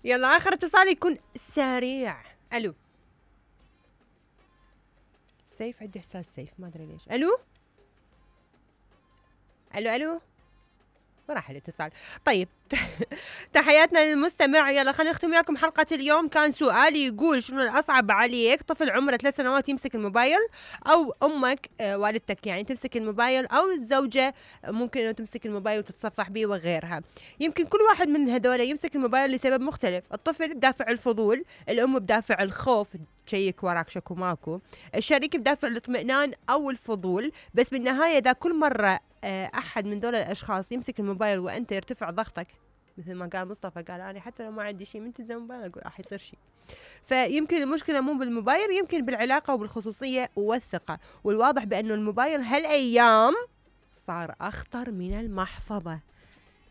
يلا اخر اتصال يكون سريع. الو سيف، عندي احساس سيف، ما ادري ليش. الو الو الو، وراح الاتصال. طيب تحياتنا للمستمع. يلا خلينا نختم وياكم حلقة اليوم. كان سؤالي يقول شنو الأصعب عليك، طفل عمره 3 سنوات يمسك الموبايل، أو أمك والدتك يعني تمسك الموبايل، أو الزوجة ممكن إنه تمسك الموبايل وتتصفح به وغيرها. يمكن كل واحد من هذول يمسك الموبايل لسبب مختلف. الطفل بدافع الفضول، الأم بدافع الخوف تشيك وراك شكو ماكو، الشريك بدافع الاطمئنان أو الفضول. بس بالنهاية إذا كل مرة أحد من دول الأشخاص يمسك الموبايل وأنت يرتفع ضغطك، مثل ما قال مصطفى، قال أنا حتى لو ما عندي شيء من تلزم موبايل أقول راح يصير شيء. فيمكن المشكلة مو بالموبايل، يمكن بالعلاقة وبالخصوصية والثقة. والواضح بأنه الموبايل هالأيام صار أخطر من المحفظة.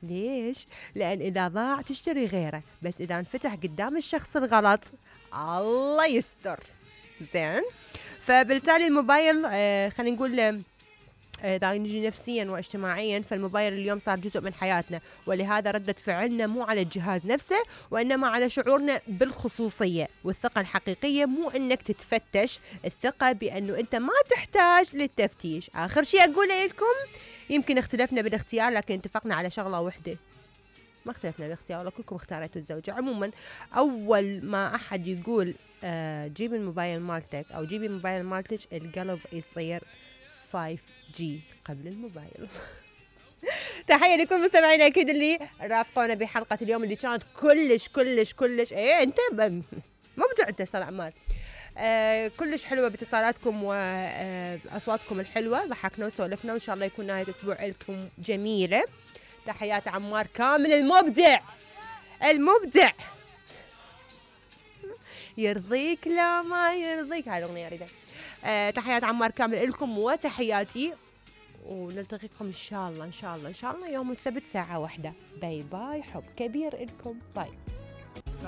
ليش؟ لأن إذا ضاع تشتري غيره، بس إذا انفتح قدام الشخص الغلط الله يستر. زين، فبالتالي الموبايل خلينا نقول إذا نجي نفسيا واجتماعيا، فالموبايل اليوم صار جزء من حياتنا، ولهذا ردة فعلنا مو على الجهاز نفسه وإنما على شعورنا بالخصوصية. والثقة الحقيقية مو إنك تتفتش، الثقة بأنه أنت ما تحتاج للتفتيش. آخر شيء أقوله لكم، يمكن اختلفنا بالاختيار لكن اتفقنا على شغلة واحدة. ما اختلفنا بالاختيار، ولا كلكم اختاريتوا الزوجة. عموما أول ما أحد يقول جيب الموبايل مالتك أو جيبي الموبايل مالتك، القلب يصير 5G قبل الموبايل. تحية لكل مستمعينا أكيد اللي رافقونا بحلقة اليوم اللي كانت كلش كلش كلش أنت ما بدو أنت صار عمار كلش حلوة باتصالاتكم وأصواتكم الحلوة. ضحكنا وسولفنا، وإن شاء الله يكون نهاية أسبوع لكم جميلة. تحيات عمار كامل المبدع يرضيك لا ما يرضيك، هاي الأغنية أريدها. تحيات عمار كامل لكم وتحياتي، ونلتقيكم إن شاء الله يوم السبت ساعة 1. باي باي، حب كبير لكم، باي.